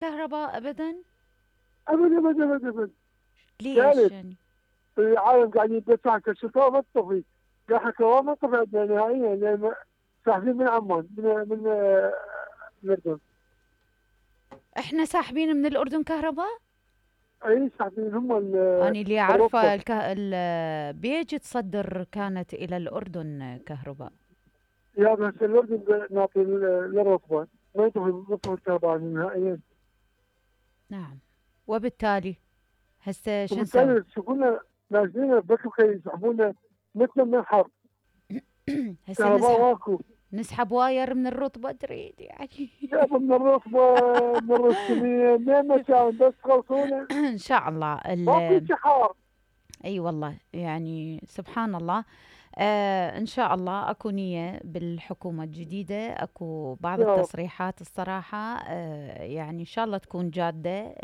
كهرباء ابدا؟ ابد ابد ابد ابد. ليش ثالث يعني؟ العالم قاعد يدفع كشفاء ما تطفي، قاعد حكوا ما طفي عندنا نهائيا لان ساحبين من عمان من الاردن. احنا ساحبين من الاردن كهرباء؟ اي ساحبين هم انا اللي عارفه الرطبه. البيج تصدر كانت الى الاردن كهرباء. يا بس الاردن نعطي للرطبه، ما يطفي الكهرباء نهائيا. نعم. وبالتالي هسه شو نسوي؟ وبالتالي يشوفونا نازلين بس يسحبونا مثل من الحر. هسه كهرباء ماكو. نسحب واير من الرطبة تريد يعني؟ جابوا من الرطبه، من الرسمين، من مكان بس خلصونا. ان شاء الله ماكو شي حار. اي والله يعني سبحان الله. ان شاء الله اكو نية بالحكومة الجديدة، اكو بعض يا رب. التصريحات الصراحة يعني ان شاء الله تكون جادة.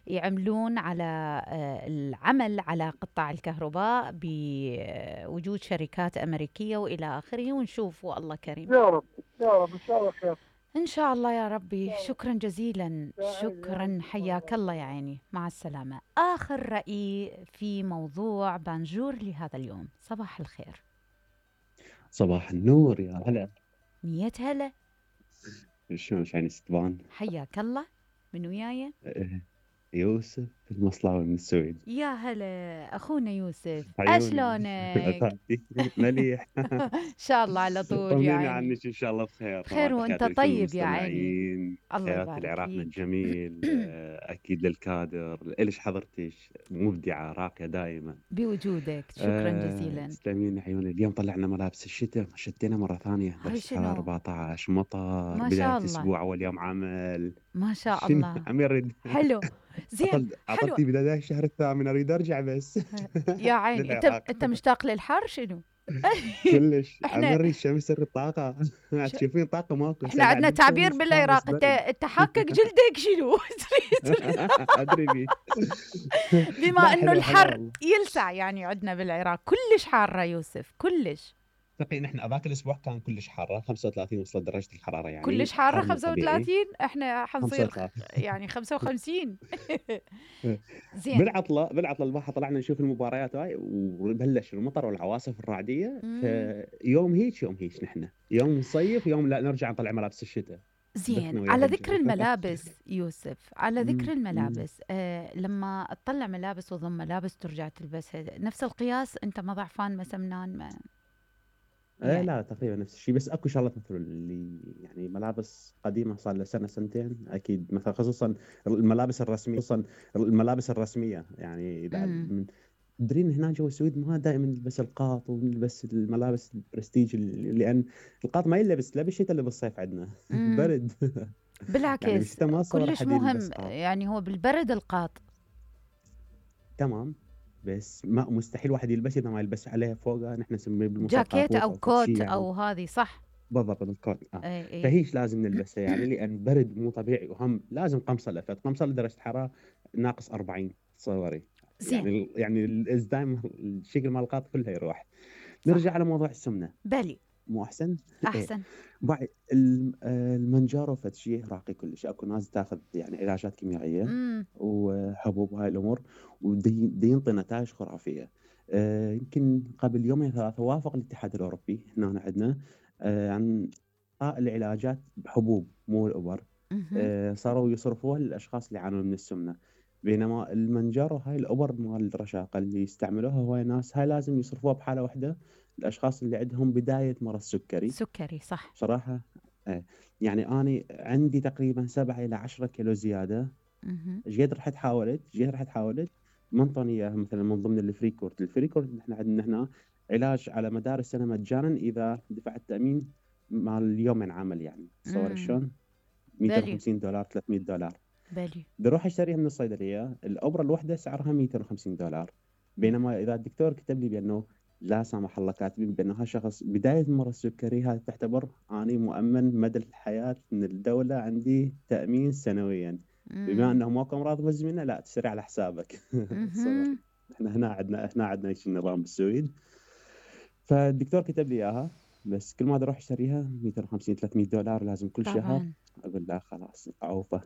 يعملون على العمل على قطاع الكهرباء بوجود شركات أمريكية وإلى آخره، ونشوف والله كريم. يا رب يا رب ان شاء الله خير. إن شاء الله يا ربي. شكرا جزيلا، يا عيني يا شكرا، عيني. حياك الله يا عيني، مع السلامة. آخر رأي في موضوع بانجور لهذا اليوم. صباح الخير. صباح النور يا هلا. مية هلا. شلون يعني ستبان؟ حياك الله. من وياي؟ يوسف المصلاوي من السويد. يا هلا أخونا يوسف، عيوني أشلونك؟ مليح. إن شاء الله على طول يا طمنيني عيني. عنك ان شاء الله بخير. بخير وانت تحياتي لكل طيب يا عيني. المستمعين، الله تحياتي يبارك لعراقنا فيك. الجميل. اكيد للكادر، الش حضرتش مبدعه راقيه دائما. بوجودك شكرا جزيلا. تسلمين عيوني. اليوم طلعنا ملابس الشتاء، شتينا مره ثانيه، هاي درجه الحراره شنو؟ 14، مطر، ما بدايه شاء الله. اسبوع، اول يوم عمل. ما شاء شنو الله. عم يرد. حلو. زين. حلو. عطلتي بداية الشهر الثامن، اريد ارجع بس. يا عيني للعراق. انت مشتاق للحر شنو؟ كلش عم احنا يري الشمس الطاقة. ش... تشوفين طاقة ماكو، احنا هسه قاعد عندنا تعبير بالشمس بالعراق، حارس انت برد. انت حاكك جلدك شنو؟ تريد؟ ادري بيه. بما لا انه حلوة حلوة الحر والله. يلسع يعني عندنا بالعراق كلش حارة يوسف، كلش تقي نحن هذاك الاسبوع كان كلش حارة، 35 وصلت درجة الحرارة، كلش يعني حارة. حر مو طبيعي. 35 احنا حنصير 35. يعني 55. زين. بالعطلة البارحة طلعنا نشوف المباريات هاي، وبلش المطر والعواصف الرعدية، مم. فيوم هيك يوم هيك نحن يوم نصيف، يوم لا نرجع نطلع ملابس الشتاء. زين، دخنا ويا على ذكر الرجال. الملابس يوسف، على ذكر مم. الملابس، لما تطلع ملابس وضم ملابس ترجع تلبسها نفس القياس، انت ما ضعفان ما سمنان ما يعني؟ لا تقريبا نفس الشيء، بس اكو شغلات مثل اللي يعني ملابس قديمه صار لها سنه سنتين اكيد، مثلا خصوصا الملابس الرسميه، يعني اذا امم تدرين هنا جوا السويد ما دائما نلبس القاط ونلبس الملابس البرستيج، لان القاط ما يلبس لا بالشتاء ولا بالصيف عندنا. امم برد. يعني بالعكس بالشتاء ما صور كلش احد يلبس مهم، قاط. يعني هو بالبرد القاط. تمام. بس ما مستحيل واحد يلبس اذا ما يلبس عليه فوقه، نحن نسميه بالمصطلح جاكيت كابوت او او فد شيء كوت يعني. او هذه صح. بالضبط الكود. اي اي. فهيش لازم نلبسها يعني، لان برد مو طبيعي، وهم لازم قمصه لفت، قمصه لدرجه حراره ناقص 40 تصوري. زين. يعني الازدايم الشكل مال القاط كله يروح. صح. نرجع على موضوع السمنه. بلي. مو احسن؟ ايه. احسن. بعد المنجارو فد شيء راقي كلش، اكو ناس تاخذ يعني علاجات كيميائيه امم وحبوب وهاي الامور، ودي ينطي نتائج خرافيه. يمكن قبل يومين ثلاثه وافق الاتحاد الاوروبي هنا عندنا عن العلاجات بحبوب مو الابر. اها. صاروا يصرفوها للاشخاص اللي يعانون من السمنه، بينما المنجارو هاي الابر مال الرشاقه اللي يستعملوها هواي ناس، هاي لازم يصرفوها بحاله واحده الاشخاص اللي عندهم بدايه مرض سكري. سكري صح. بصراحه يعني انا عندي تقريبا 7 الى 10 كيلو زياده. اها. ايش قد رحت حاولت ما انطوني اياها، مثلا من ضمن الفري كورد احنا عندنا هنا علاج على مدار السنه مجانا اذا دفعت تامين مال يومين عمل، يعني تصور امم شلون. بلي. $250 $300. بلي. بروح اشتريها من الصيدليه، الابره الواحده سعرها $250. بينما اذا الدكتور كتب لي بانه لا سامح الله كاتبين بانه هذا شخص بدايه مرض السكري، هذا تعتبر اني مؤمن مدى الحياه من الدوله، عندي تامين سنويا. بما امم انه ماكو امراض مزمنه لا تشتري على حسابك. تصور. اها. احنا هنا عندنا ايش النظام بالسويد. فالدكتور كتب لي اياها، بس كل ما اروح اشتريها 250 $300 لازم كل شهر. طبعا اقول لا خلاص اعوفه.